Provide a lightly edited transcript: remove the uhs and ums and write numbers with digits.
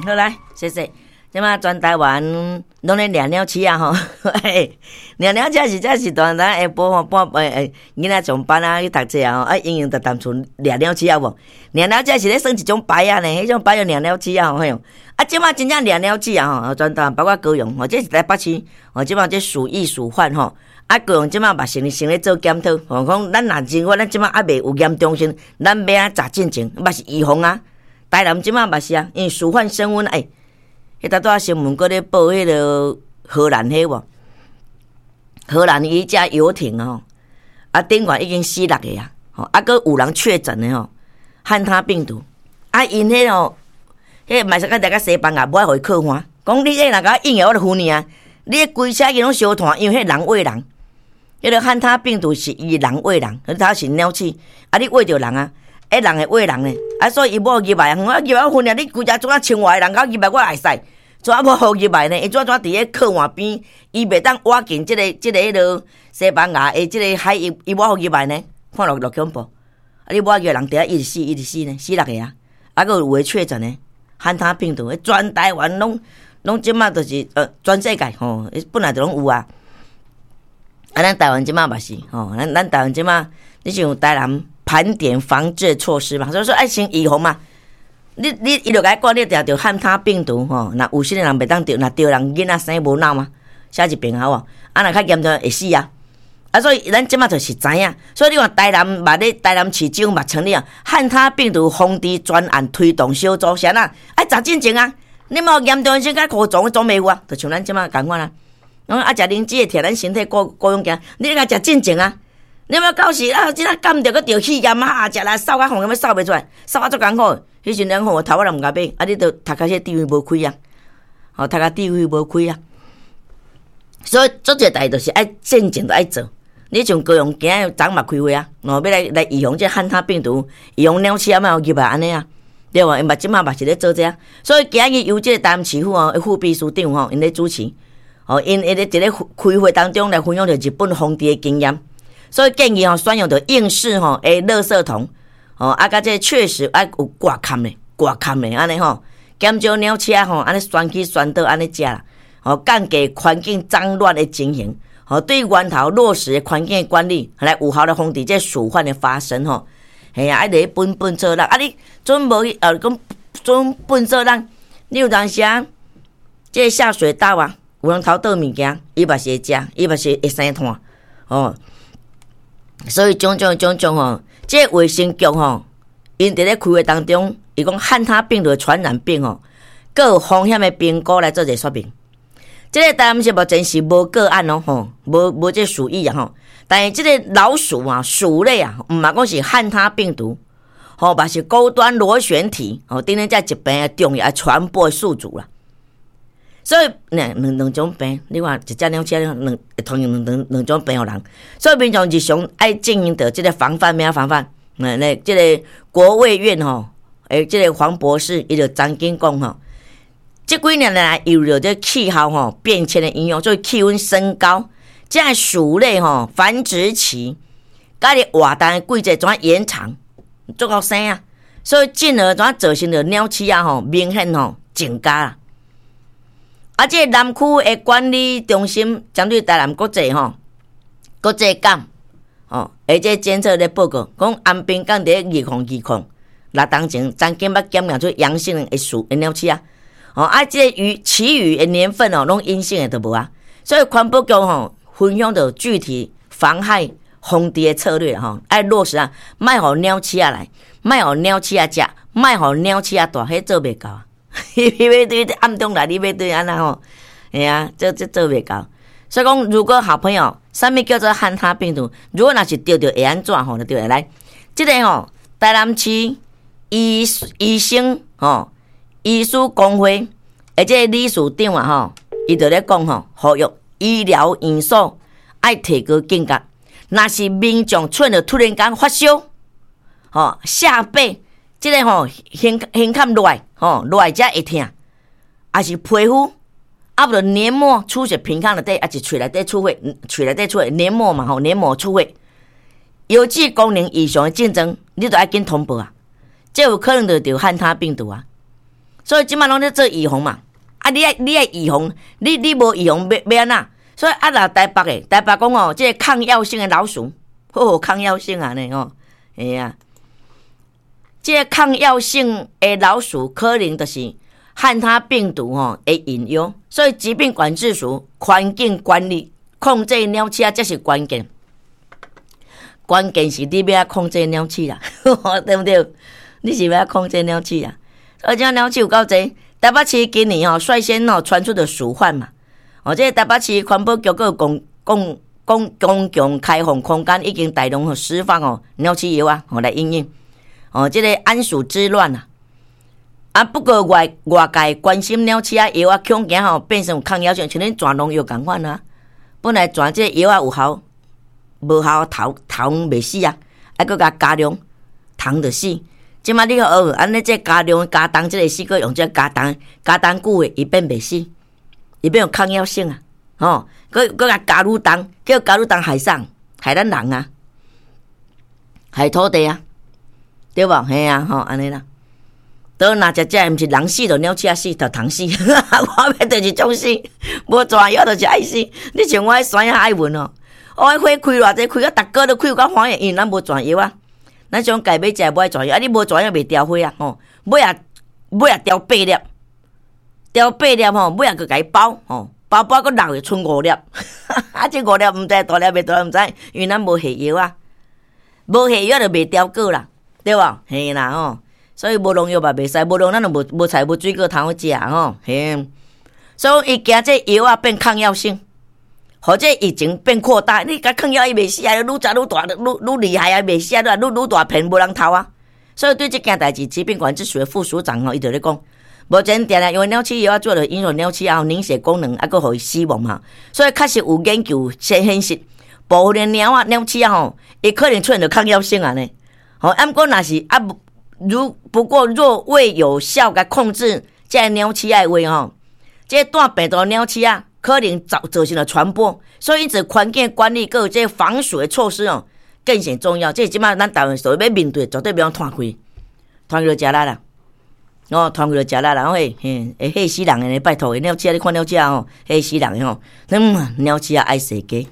好來，謝謝。這馬全台灣攏咧掠鳥鼠仔吼，掠鳥鼠仔是這是當咱下晡吼半欸囡仔上班啊去讀冊啊吼，啊閒閒就踮厝掠鳥鼠仔無？掠鳥鼠仔是咧耍一種牌仔呢，彼種牌叫掠鳥鼠仔吼，嘿。啊，這馬真正掠鳥鼠仔吼，全台灣包括高雄吼，這是台北市吼，這馬這鼠疫鼠患吼，啊高雄這馬嘛先先咧做檢討，吼講咱若認為咱這馬猶未有嚴重性，咱欲按怎查進前，嘛是預防啊。台南這馬嘛是啊，因為鼠患升溫欸。彼拄仔新聞閣咧報彼个荷蘭彼無？荷蘭伊隻遊艇吼，啊頂懸已經死六個啊，吼啊閣有人確診的吼，漢他病毒，啊𪜶彼吼，彼嘛是甲大家西班牙無愛予伊靠岸，講你這若共我應我就付你啊！你規車去攏燒炭，因為彼人餵人，彼个漢他病毒是伊人餵人，它是鳥鼠，啊你餵著人啊，彼人會餵人呢，啊所以伊無入來啊，啊入來我付你，你規隻怎啊千外個人共入來我會使。怎啊無予入來呢？伊怎怎佇咧靠岸邊，伊袂當倚近這个這个彼落西班牙的這个海域，伊無予入來呢？看落落恐怖！啊，你無入來人佇遐一直死，一直死呢，死六個啊！啊，閣有有的確診呢，漢他病毒，全台灣攏攏這馬就是全世界吼，本來就攏有啊。啊，咱台灣這馬嘛是吼，咱咱台灣這馬，你像台南盤點防治措施嘛，所以說愛先預防嘛。你你伊就共你講，你著著漢他病毒吼，若有啥物人袂當著，若著人囡仔生無腦嘛，寫一病好無？啊，若較嚴重會死啊！啊，所以咱這馬就是知影，所以你看台南嘛咧，台南市政府嘛成立啊，漢他病毒防治專案推動小組，啥啦？愛查進前啊！你無嚴重性較高總總袂有啊，就像咱這馬仝款啊。啊，食靈芝會疼咱身體顧顧養健，你愛食進前啊！你欲到時啊，這個感著閣著肺炎啊，食來嗽甲吼，欲嗽袂出來，嗽啊足艱苦。彼時陣吼，頭仔人毋共買，啊，你著讀較些智慧無開啊，吼，讀較智慧無開啊。所以做這代就是愛進前就愛做。你像高雄今仔昨嘛開會啊，哦，欲來來預防這漢他病毒，預防鳥鼠仔莫予入來按呢啊，對無？𪜶嘛這馬嘛是咧做這啊。所以今日由這個台南市府哦，副秘書長吼，𪜶咧主持，哦，𪜶會咧佇咧開會當中來分享著日本防治的經驗，所以建議吼選用著硬式吼的垃圾桶。哦，啊，佮這確實愛有掛坎的，掛坎的按呢吼，減少鳥鼠仔吼，按呢旋起旋倒按呢食啦，吼，降低環境髒亂的情形，吼，對源頭落實的環境的管理，來有效的防治這鼠患的發生吼。嘿啊，愛佇咧糞糞做啦，啊你準無去，講準糞做咱，你有當時啊，這下水道啊，有人偷倒物件，伊嘛是會食，伊嘛是會生炭，吼。所以種種種種吼，這衛生局吼，𪜶佇咧開會當中，伊講漢他病毒的傳染病吼，閣有風險的評估來做一個說明。這個台南市目前是無個案哦，吼，無無這鼠疫啊吼。但是這個老鼠啊，鼠類啊，毋嘛講是漢他病毒，吼，嘛是高端螺旋體，吼，等等這疾病的重要傳播宿主啦。所以，兩兩兩種病，你看一隻鳥鼠兩會傳兩兩兩種病予人。所以民眾日常愛進行著這個防範，欲按怎防範？嗯，那這個國衛院吼，欸，這個黃博士伊就曾經講吼，這幾年來受著這氣候吼變遷的影響，所以氣溫升高，這個鼠類吼繁殖期，佮你活動的季節怎延長，足夠生啊，所以進而怎造成著鳥鼠仔吼明顯吼增加啦。啊！這個南區的管理中心針對台南國際吼，國際港吼，而這監測咧報告，講安平港佇咧2020、06當前曾經捌檢驗出陽性的鼠的鳥鼠仔，吼啊！這個餘其餘的年份哦，攏陰性的都無啊。所以環保局吼分享著具體防害防治的策略吼，愛落實啊，莫予鳥鼠仔來，莫予鳥鼠仔食，莫予鳥鼠仔蹛，彼做袂到啊。你欲對暗中來，你欲對按怎吼？嘿啊，這這做袂到。所以講，如果好朋友，啥物叫做漢他病毒？如果若是著著會按怎吼？就對來，這個吼，台南市醫醫生吼，醫師公會，而這個理事長啊吼，伊就咧講吼，呼籲醫療院所愛提高警覺，若是民眾出現突然間發燒，吼，下背。這個吼，胸胸坎內吼內遮會疼，抑是皮膚啊，無就黏膜出血，鼻腔內底，抑是喙內底出血，喙內底出血黏膜嘛吼，黏膜出血，腰子功能異常的症狀，你著愛緊通報啊！這有可能就著漢他病毒啊！所以這擺攏咧做預防嘛。啊，你愛預防，你無預防欲按怎？所以啊，若台北的台北講哦，這個抗藥性的老鼠，好抗藥性啊呢吼，會啊。這個抗藥性的老鼠可能就是漢他病毒吼的隱憂，所以疾病管制署環境管理控制鳥鼠仔，這是關鍵。關鍵是你欲按控制鳥鼠啦，對毋對？你是欲按控制鳥鼠啊？而且鳥鼠有夠濟，台北市今年吼率先吼傳出的鼠患嘛。哦，這個台北市環保局閣公共開放空間已經大量釋放哦鳥鼠藥啊，吼來因應。哦，這個安鼠之亂啊！啊，不過外界關心鳥鼠仔藥啊，恐驚吼變成有抗藥性，像恁轉農藥仝款啊。本來轉這個藥啊有效，無效頭頭袂死啊，啊，閣共加量，蟲就死。這擺你哦，按呢這加量加重這個死，閣用這加重加重久的，伊變袂死，伊變有抗藥性啊！吼，閣共加愈重，叫加愈重害啥？害咱人啊，害土地啊，對無？嘿啊，吼，按呢啦。都若食食，毋是人死，就鳥鼠仔死，就蟲死。我欲就是種死，無蛇藥就是愛死。你像我彼山仔愛文哦，我彼花開偌濟，開到逐個都開有夠歡喜，因為咱無蛇藥啊。咱想家買食無愛蛇藥，啊你無蛇藥袂凋花啊吼，尾仔凋八粒，凋八粒吼，尾仔閣共伊包吼，包包閣落去賰五粒，啊這五粒毋知大粒袂大粒毋知，因為咱無下藥啊，無下藥就袂凋果啦，對無？嘿啦吼。所以無農藥嘛袂使，無農咱就無菜無水果通好食吼，嘿。所以伊驚這藥仔變抗藥性，予這疫情變擴大。你共抗藥伊袂死啊，愈食愈大，愈厲害啊，袂死啊，愈大片無人偷啊。所以對這件代誌，疾病管制署的副署長吼，伊就咧講，目前定定因為鳥鼠藥仔做了影響鳥鼠仔凝血功能，啊，閣予伊死亡嘛。所以確實有研究先顯示，部分的貓仔、鳥鼠仔吼，伊可能出現著抗藥性啊呢。吼，啊，毋過若是啊，如不過若未有效共控制這个鳥鼠仔的話吼，這個帶病毒鳥鼠仔可能造成了傳播，所以因此環境管理閣有這個防鼠的措施哦，更顯重要。這這擺咱台灣所欲面對，絕對袂用拖開，拖開就食力啦。哦，拖開就食力啦，嘿，嘿，會嚇死人的，拜託，鳥鼠仔你看鳥鼠仔吼，嚇死人的吼，嗯，鳥鼠仔愛踅街。